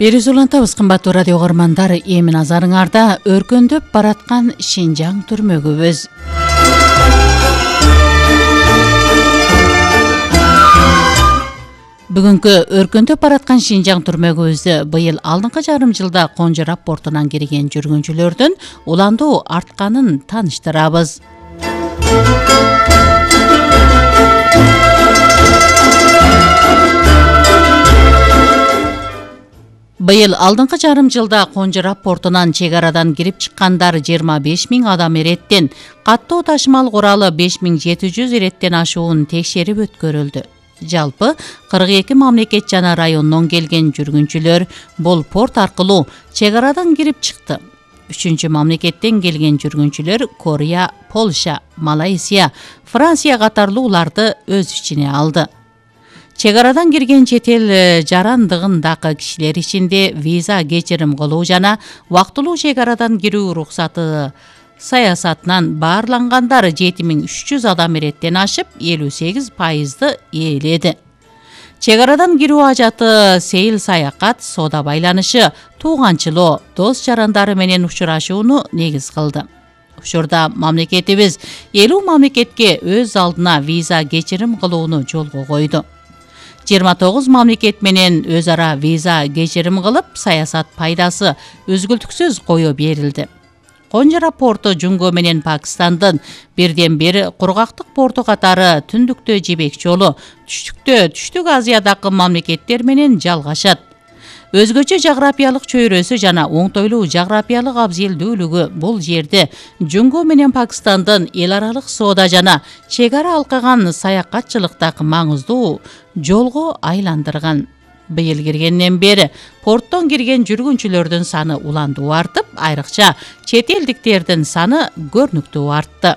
Берүүсү улантабыз, кымбаттуу радио угармандар. Эми назарыңарда өркөндөп бараткан Шинжаң түрмөгүбүз. Бүгүнкү өркөндөп бараткан Шинжаң түрмөгүбүздө быйыл алдыңкы жарым жылда Конжорап портунан кирген жүргүнчүлөрдүн уландуу артканын тааныштырабыз. Быйыл алдыңкы жарым жылда Конжорап портунан чек арадан кирип чыккандар 25 000 адам эреттен, каттоо ташымал куралы 5700 эреттен ашуун текшерип өткөрүлдү. Жалпы 42 мамлекет жана райондон келген жүргүнчүлөр бул порт аркылуу чек арадан кирип чыкты. 3 мамлекеттен келген жүргүнчүлөр Корея, Польша, Малайзия, Франция катарлууларды өз ичине алды. Чек арадан кирген чет эл жарандыгындагы кишилер ичинде виза кечирим кылуу жана убактылуу чек арадан кирүү уруксаты саясатынан баарлангандар 7300 адам эреттен ашып, 58% ээледи. Чек арадан кирүү ажаты сейил саякат, соода байланышы, тууганчылоо, дос жарандары менен учурашууну негиз кылды. Ушурда мамлекетибиз 50 мамлекетке өз алдына виза кечирим кылууну жолго койду. 29 мамлекет менен өз ара виза кечирим кылып, саясат пайдасы үзгүлтүксүз кое берилди. Конжорап порту Жунгө менен Пакистандын бирден бир кургактык порту катары түндүктө жибек жолу, түштүктө Түштүк Азиядагы мамлекеттер менен жалгашат. Өзгөчө жаграпиялык чөйрөсү жана оңтойлуу жаграпиялык абзелдүүлүгү бул жерде Жунгө менен Пакистандын эл аралык соода жана чек ара алкаган саякатчылыктагы маңыздуу жолго айландырган. Быйыл киргенден бери порттон кирген жүргүнчүлөрдүн саны уландуу артып, айрыкча чет элдиктердин саны көрүнүктүү артты.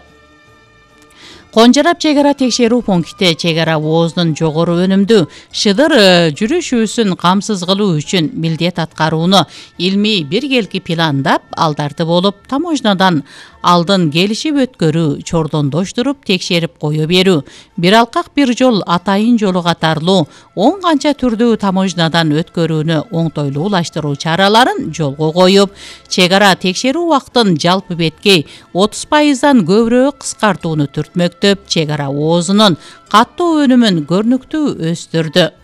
Конжорап чек ара текшерүү пункти чек ара оозунун жогору өнүмдүү шыдыр жүрүшүүсүн камсыз кылуу үчүн милдет аткарууну илмий биргелки пландап, алдарды болуп таможнядан алдын келишип өткөрүү, чордондоштуруп текшерип кое берүү, бир алкак бир жол атайын жолу катарлуу 10 канча түрдүү таможнядан өткөрүүнү оңтойлуулаштыруу чараларын жолго коюп, чек ара текшерүү убактын жалпы беткей 30%дан көбүрөөк кыскартууну түртмөктөп, чек ара оозунун каттоо өнүмүн көрүнүктүү өстүрдү.